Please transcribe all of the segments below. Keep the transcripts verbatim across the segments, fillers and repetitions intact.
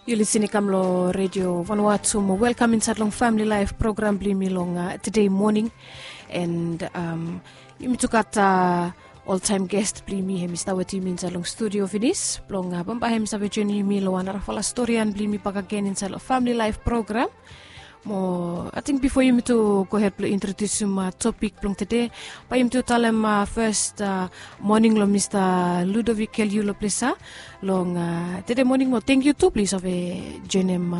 Yu lisin i kam long redio vanua tu mo welkam insait long famili laif program blong yumi long uh, today morning. And um, yumi tu gat uh, oltaim gest blong yumi hem i stap wetem yumi insait long studio finis blong uh, bambae hem i save joinim yumi long wan narafala storian blong yumi bakegen insait long famili laif program. Mo ating bifo yumi tu gohed blong introdiusim topik blong tede, bae yumi tu talem fes moning long mista Ludovic Keliu long ples ya long tede moning. Mo tengkiu tu blong yu save joinim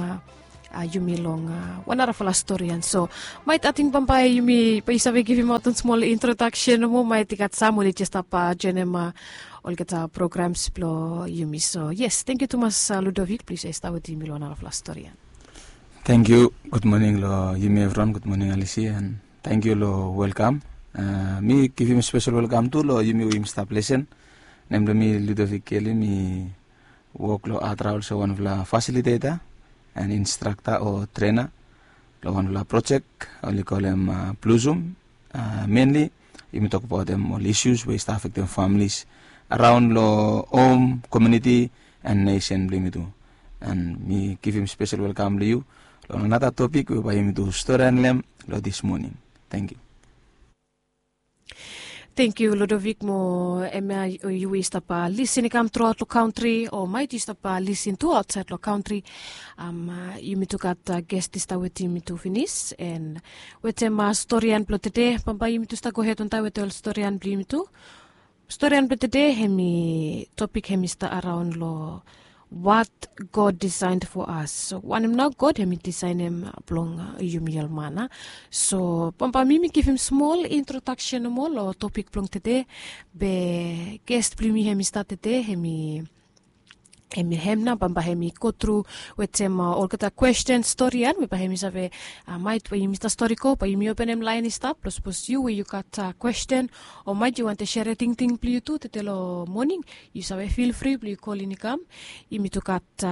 yumi long wan narafala storian. So maet ating bambae yumi bae yu save givimaot wan smol introdaksen nomo, maet i gat sam oli jes stap joinim olgeta programs blong yumi. So yes, tengkiu tumas Ludovic blong yu save stap wetem yumi long wan narafala storian. Tengkiu. Gud moning long yumi evriwan. Gud moning Alisi, and tengkiu long welkam. Mi givim spesel welkam tu long yumi we yumi stap lesen. Nem blong mi Ludovic Keliu, mi wok long Adra olsem wanfala fasiliteta and instrakta o trena long wanfala projek oli kolem Blossom. Menli yumi tokbaotem ol isus we i stap afektem familis araon long hom, komuniti, and nesen blong yumi tu. And mi givim spesel welkam long yu long anata topik we bae yumi tu storian long hem long dis moning. Tengkiu. Tengkiu Ludovic. Mo hemia yu we yu stap lisin i kam truaot long kantri o maet yu stap lisin tu aotsaed long kantri, yumi tu gat gest i stap wetem yumi tu finis. And wetem storian blong tede, bambae yumi tu stap gohed wantaem wetem ol storian blong yumi tu. Storian blong tede hem i topik hem i stap araon long what God designed for us. So wanem nao God hem i disaenem blong yumi ol man a. So bambae mi mi givim smol introdaksen nomo long topik blong tede. Be gest blong yumi hem i stap tede hem i hem i hem nao bambae hem i gotru wetem olgeta kwesten storian we bae hem i save, maet we yumi stap stori go bae yumi openem laen i stap blong sapos yu we yu gat kwesten o maet yu wantem sere tingting blong yu tu tede long moning, yu save fil fri blong yu kolin i kam. Yumi tu gat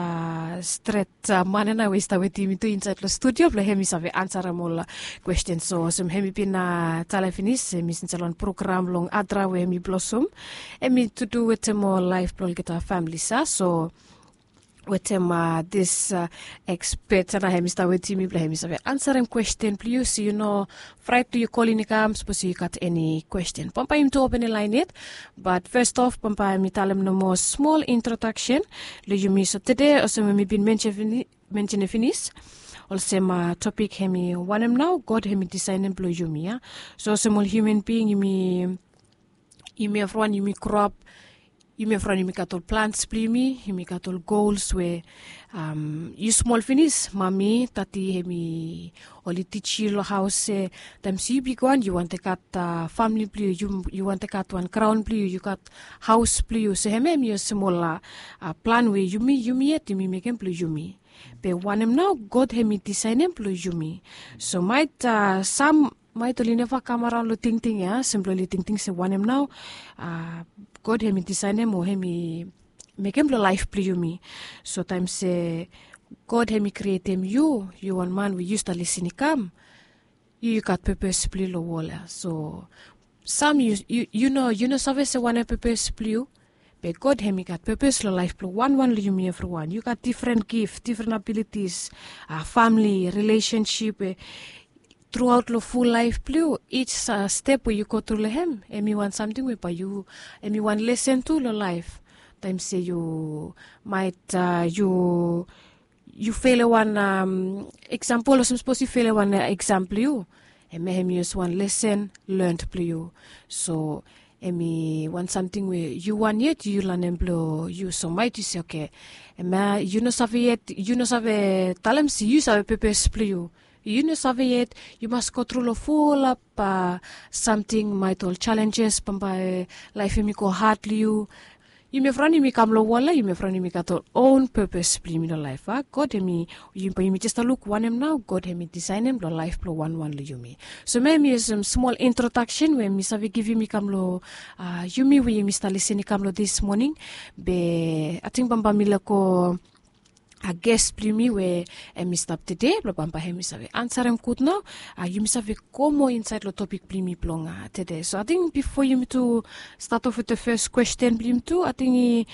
stret man ya nao we i stap wetem yumi tu insaed long studio blong hem i save ansarem ol kwesten. So olsem hem i bin talem finis hem i insaed long program long Adra we hem i Blossom, hem i tu du wetem ol laef blong olgeta familis ya. So wetem dis ekspet ya nao hem i stap wetem yumi blong hem i save ansarem kwesten blong yu. So yu no fraet blong yu kolin i kam sapos yu gat eni kwesten. Bambae yumi tu openem laen yet. Bat fes of bambae mi talem nomo smol introdaksen long yumi. So tede olsem we mi bin mensenem finis, olsem topik hem i wanem nao God hem i disaenem blong yumi ya. So olsem ol hiuman bing yumi, yumi evriwan yumi groap, yumi evriwan yumi gat ol plans blong yumi, yumi gat ol gols we yu smol finis mami, dadi hem i oli tij yu long haos se taem se yu bigwan yu wantem gat famili blong yu, yu wantem gat wan graon blong yu, yu gat haos blong yu. So hemia hem i olsem ol plan we yumi, yumi yet yumi mekem blong yumi. Be wanem nao God hem i disaenem blong yumi. So maet sam maet oli neva kam araon long tingting ya, olsem blong oli tingting se wanem nao God hem i disaenem o hem i mekem long laef blong yumi. So taem se God hem i krietem yu, yu wan man we yu stap lisin i kam, yu yu gat pepes blong yu long wol ya. So sam yu, yu no, yu no save se wanem pepes blong yu. Be God hem i gat pepes long laef blong wanwan long yumi evriwan. Yu gat difren gif, difren abilitis, famili, rilesensip we truaot long ful laef blong yu, ij step we yu gotru long hem hem i wan samting we bae yu, hem i wan lesen tu long laef. Taem se yu maet yu yu felem wan eksampol, olsem sapos yu felem wan eksam blong yu, hemia hem i olsem wan lesen learned blong yu. So hem i wan samting we yu wan yet yu lanem blong yu. So maet yu se oke, hemia yu no save yet, yu no save talem se yu save pepes blong yu. Yu no save yet, yu mas gotru long fulap samting, maet ol jalenjes bambae laef hem i go had long yu. Yumi evriwan yumi kam long wol ya, yumi evriwan yumi gat ol own pepes blong yumi long laef a. God hem i, bae yumi jes stap luk wanem nao God hem i disaenem long laef blong wanwan long yumi. So hemia hem i olsem smol introdaksen we mi save givim i kam long yumi we yumi stap lisin i kam long dis moning. Be ating bambae mi lego a ges blong yumi we em i stap tede blong bambae em i save ansarem gud nao. A yumi save go moa insaed long topik blong yumi blong tede. So ating bifo yumi tu stat of with the fes kwesten blong yumi tu, ating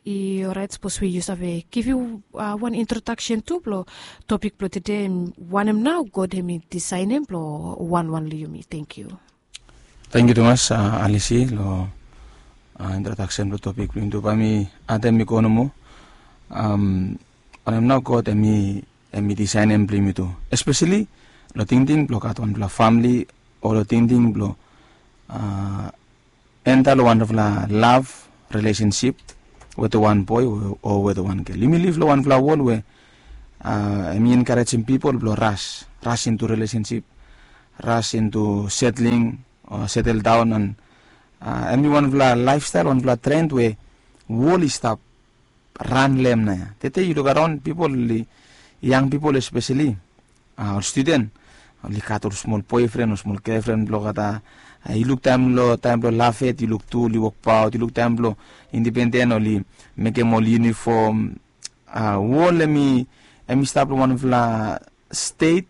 i oraet sapos we yu save givim wan introdaksen tu blong topik blong tede, wanem nao God em i disaenem blong wanwan long yumi. Tengkiu. Tengkiu tumas, Alisi, long introdaksen blong topik blong yumi tu. Bae mi adem i go nomo. Wanem nao God em i disaenem blong yumi tu, espeseli long tingting blong gat wanpela famili, o long tingting blong enta long wanpela lav relesensip wetem wan boe o wetem wan gel. Yumi liv long wanpela wol we em i enkarejem pipol blong ras, ras into relesensip, ras into setling o setel daon. An em i wanpela laefstael, wanpela tren we wol i stap ran long em nao ya. Tete yu luk araon, pipol, yang pipol espeseli, ol studen, oli gat ol smol boefren o smol gefren blong olgeta. Yu luk taem long, taem blong lafet, yu luk tu oli wokbaot, yu luk taem blong indipenden oli mekem ol yunifom. Wol em i, em i stap long wanpela stet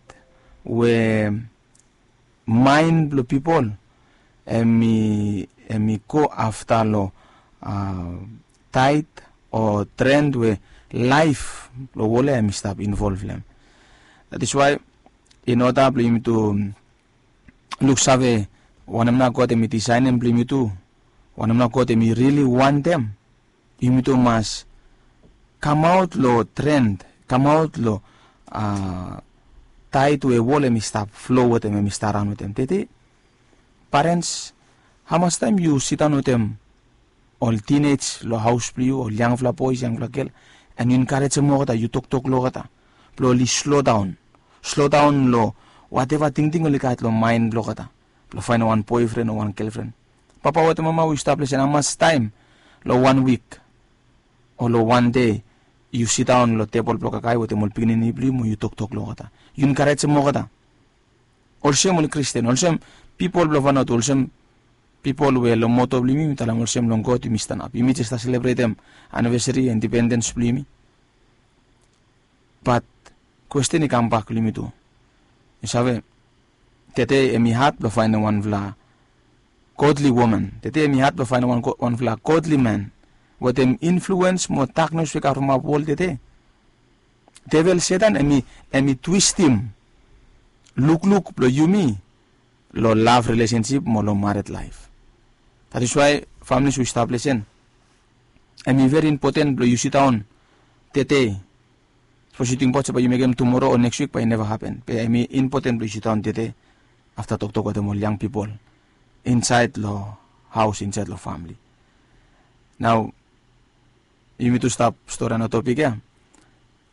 we maen blong pipol em i, em i go afta long taet o tren we laef blong wol ya em i stap involv long em. That is why in order blong yumi tu luksave wanem nao God em i disaenem blong yumi tu, wanem nao God em i rili wantem, yumi tu mas kamaot long tren, kamaot long taet we wol em i stap flo wetem, em i stap raon wetem. Tete, parens, hamas taem yu sindaon wetem ol tinej long haos blong yu, ol yangfala boes, yangfala gel, an yu enkarejem olgeta, yu toktok long olgeta blong oli slodaon, slodaon long wateva tingting oli gat long maen blong olgeta blong faenem wan boefren o wan gelfren. Papa wetem mama, we yu stap lesen, hamas taem long wan wik o long wan dei yu sindaon long tebol blong kakae wetem ol pikinini blong yu mo yu toktok long olgeta, yu enkarejem olgeta? Olsem ol Kristen, olsem pipol blong Vanuatu, olsem pipol we long moto blong yumi, yumi talem olsem long God yumi stanap. Yumi jes stap selebretem anivesari indipendens blong yumi. Bat kwesten i kambak long yumi tu. Yu save, tede em i had blong faenem wanfala godly woman. Tede em i had blong faenem wan, wanfala godly man wetem influens mo daknes we i kam from wol tede. Devel Setan em i, em i twistim lukluk blong yumi long lav relesensip mo long mared laef. That is why, families, we yu stap lesen, em i veri impoten blong yu sindaon tede. Sapos yu tingbaot se bae yu mekem tumoro o neks wik, bae i neva hapen. Be em i impoten blong yu sindaon tede afta toktok wetem ol yang pipol insaed long haos, insaed long famili. Nao yumi tu stap storian long topik ya.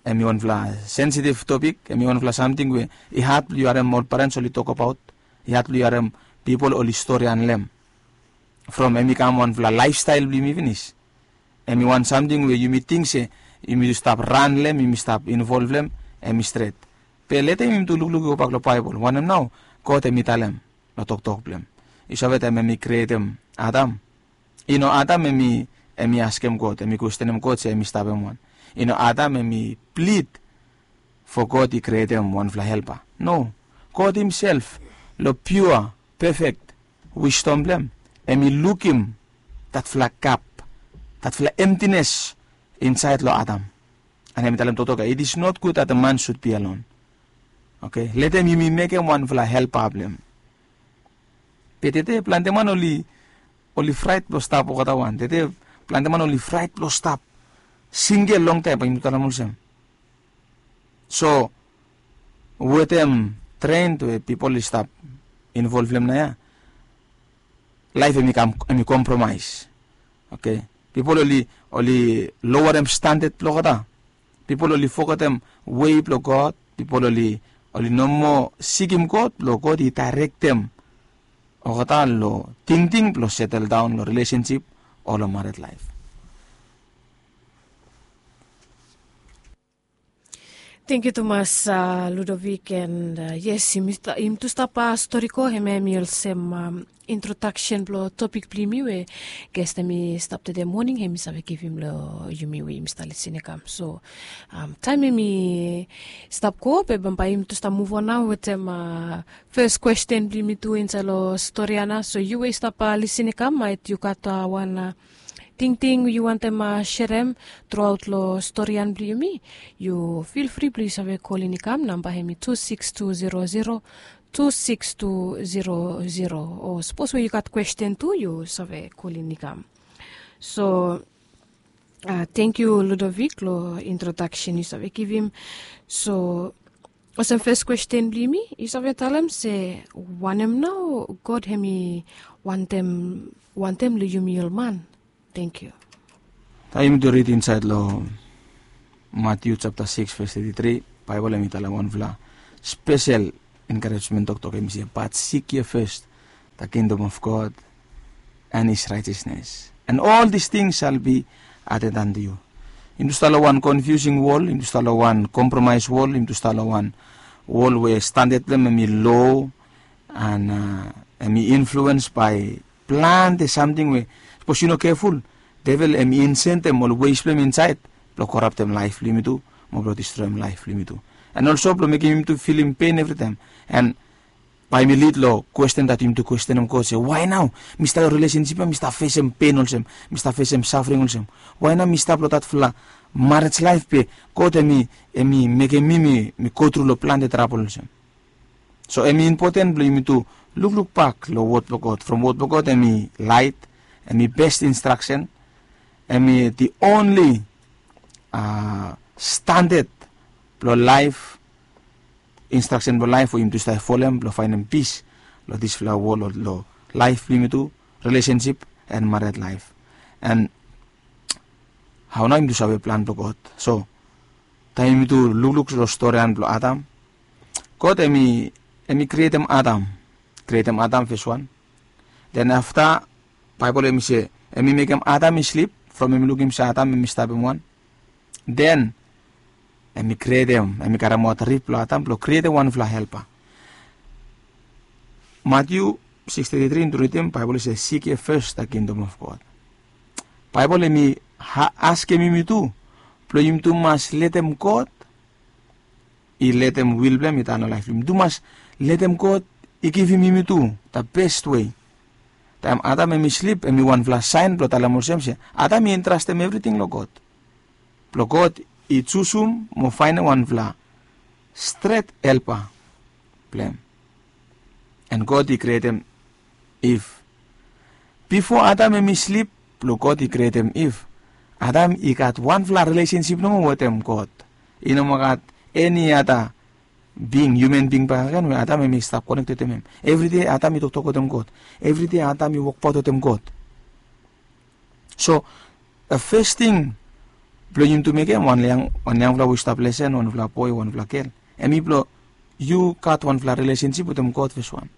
Em i wanfala sensitiv topik, em i wanfala samting we i had blong yu harem ol parens oli tokbaot, i had blong yu harem pipol oli storian long em. From em i kam wanfala laefstael blong yumi finis. Em i wan samting we yumi ting se yumi stap ran long em, yumi stap involv long em, em i stret. Be leta yumi tu lukluk i gobak long Baebol, wanem nao God em i talem long toktok blong em. Yu save, taem em i krietem Adam, i no Adam em i, em i askem God, em i kwestenem God se em i stap hem wan. I no Adam em i plid fo God i krietem wanfala helpa. No. God himself, long piua, pefek wisdom blong em, em i lukim datfala gap, datfala emtines insaed long Adam. An em i talem toktok ya, "It is not good that the man should be alone." Oke, letem yumi mekem wanfala helpa blong em. Be tede plante man oli, oli fraet blong stap olgeta wan. Tede plante man oli fraet blong stap singel longtaem, bae yumi talem olsem. So wetem tren we pipol i stap involv long em nao ya, laef em i kam, em i kompromaes. Oke, pipol oli, oli lowerem standard blong olgeta. Pipol oli fogetem wei blong God. Pipol oli, oli no moa sikim God blong God i daerektem olgeta long tingting blong setel daon long relesensip o long mared laef. Tangkiu tumas, Ludovic, and yes, yumi tu stap stori go, hemia hemi olsem introdaksen blong topik blong yumi we ges hemi stap tede moning hemi save givim long yumi we yumi stap lisin i kam. So taem hemi stap go be bambae yumi tu stap muvon nao wetem fes kwesten blong yumi tu insaed long stori ya nao. So yu we yu stap lisin i kam, maet yu gat wan tingting yu wantem serem truaot long stori ya blong yumi, yu fil fri blong yu save kolin i kam. Namba hemi tu sikis tu zero zero tu sikis tu zero zero, o sapos we yu gat kwesten tu yu save kolin i kam. So tangkiu Ludovic long introdaksen yu save givim. So olsem fes kwesten blong yumi, yu save talem se wanem nao God hemi wantem long yumi ol man? Tangkiu. Taem yumi tu rid insaed long Matiu japta sikis ves teti tri, Baebol hemi talem wanfala spesel enkarejmen toktok, hemi se, but seek ye first the kingdom of God and his righteousness, and all these things shall be added unto you. Yumi tu stap long wan confusing wol, yumi tu stap long wan kompromaes wol, yumi tu stap long wan wol we standad blong hem hemi lo, and hemi influens bae plante samting we sapos yu no keful, devel hemi insentem ol wes blong hem insaed blong koraptem laef blong yumi tu mo blong distroem laef blong yumi tu, and olso blong mekem yumi tu filim pen evritaem. And bae yumi lid long kwesten dat yumi tu kwestenem God se, wae nao mi stap long rilesensip ya mi stap fesem pen olsem, mi stap fesem safring olsem? Wae nao mi stap long datfala marej laef be God hemi mekem mi mi gotru long plante trabol olsem? So hemi impoten blong yumi tu lukluk bak long wod blong God. From wod blong God hemi laet, hemi bes instraksen, hemi the only standad blong laef, instraksen blong laef we yumi tu stap folem blong faenem pis long disfala wol, long laef blong yumi tu, rilesensip and mared laef. And hao nao yumi tu save plan blong God? So taem yumi tu lukluk long storian blong Adam, God hemi krietem Adam, krietem Adam fes wan. Den afta Baebol hemi se hemi mekem Adam i slip, from hemi lukim se Adam hemi stapem wan. Den hemi krietem, hemi karemaot rib blong Adam blong krietem wanfala helpa. Matiu sikis teti tri yumi tu ridim, Baebol i se, seek ye first the kingdom of God. Baebol hemi askem yumi tu blong yumi tu mas letem God i letem wil blong hem i tan long laef blong yumi. Yumi tu mas letem God i givim yumi tu the best way. Taem Adam hemi slip hemi wanfala saen blong talem olsem se Adam i entrastem evriting long God, blong God i jusum mo faenem wanfala stret helpa blong hem. And God i krietem Iv. Bifo Adam hemi slip blong God i krietem Iv, Adam i gat wanfala rilesensip nomo wetem God. I no moa gat eni ada bing, hiuman bing bakegen we Adam hemi stap konekted wetem hem. Evride Adam i toktok wetem God. Evride Adam i wokbaot wetem God. So fes ting blong yumi tu mekem, wan yangfala we i stap lesen, wanfala boe, wanfala gel, hemi blong yu gat wanfala rilesensip wetem God fes wan.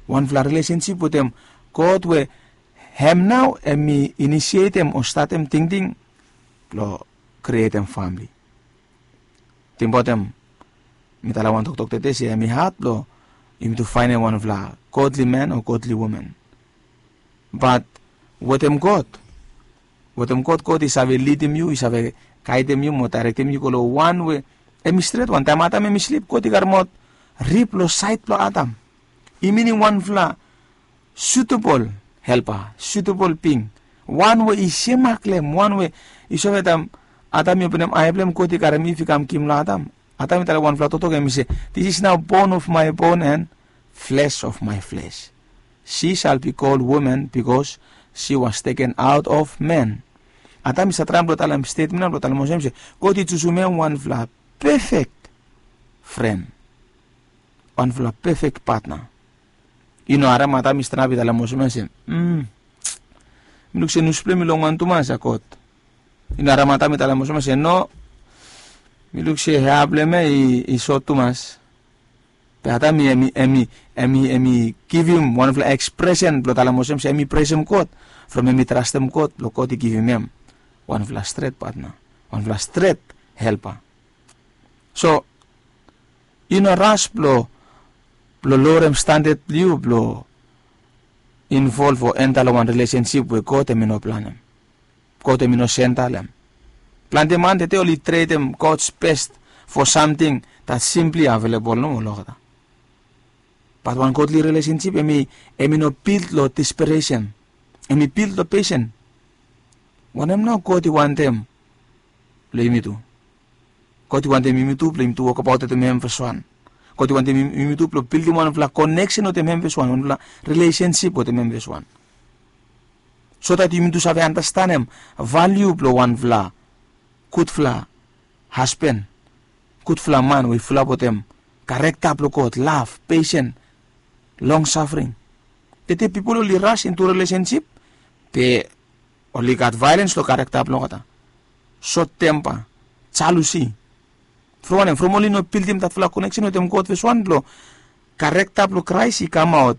Wanfala rilesensip wetem God we hem nao hemi inisietem o statem tingting blong krietem famle. Tingbaotem, mi talem wan toktok tede se hemi had blong yumi tu faenem wanfala godly man o godly woman. Bat wetem God, wetem God, God i save lidim yu, i save gaedem yu mo daerektem yu go long wan we hemi stret wan. Taem Adam hemi slip, God i karemaot rib long saed blong Adam. I minim wanfala sutebol helpa, sutebol bing, wan we i semak long hem, wan we i save taem Adam i openem ae blong hem, God i karem Iv i kam givim long Adam. Adam i talem wanfala toktok, hemi se, this is now bone of my bone and flesh of my flesh. She shall be called woman because she was taken out of man. Adam i save traem blong talem stetmen ya blong talem olsem se God i jusum hem wanfala pefek fren, wanfala pefek patna. I no harem Adam i stanap i talem olsem ya se, mm, mi luk se nus blong hem i longwan tumas ya God. I no harem Adam i talem olsem ya se, no, mi luk se hea blong hem ya i sot tumas. Be Adam i, hemi, hemi, hemi, hemi givim wanfala ekspresen blong talem olsem se hemi presem God from hemi trastem God blong God i givim hem wanfala stret patna, wanfala stret helpa. So i no ras blong blong lowrem standad blong yu blong involv o enta long wan rilesensip we God em i no planem. God em i no senta long em. Plante man tete oli tredem God's best for samting that simply available nomo olgeta. Bat wan godly relationship em i em i no bild long desperation. Em i bild long pesen. Wanem nao God i wantem long yumi tu? God i wantem yumi tu blong yumi tu wokabaot wetem hem feswan. God i wantem yumi tu blong bildim wanfela koneksen wetem hem feswan, wanfela rilesensip wetem hem feswan, so dat yumi tu save anastanem valiu blong wanfela gudfela hasban, gudfela man we i fulap wetem karekta blong God, lav, pesen, long safring. Tete pipol oli ras intu rilesensip be oli gat vaelens long karekta blong olgeta, sot tempa, jalusi. From wanem? From oli no bildim datfala koneksen wetem God feswan blong karekta blong Kraes i kamaot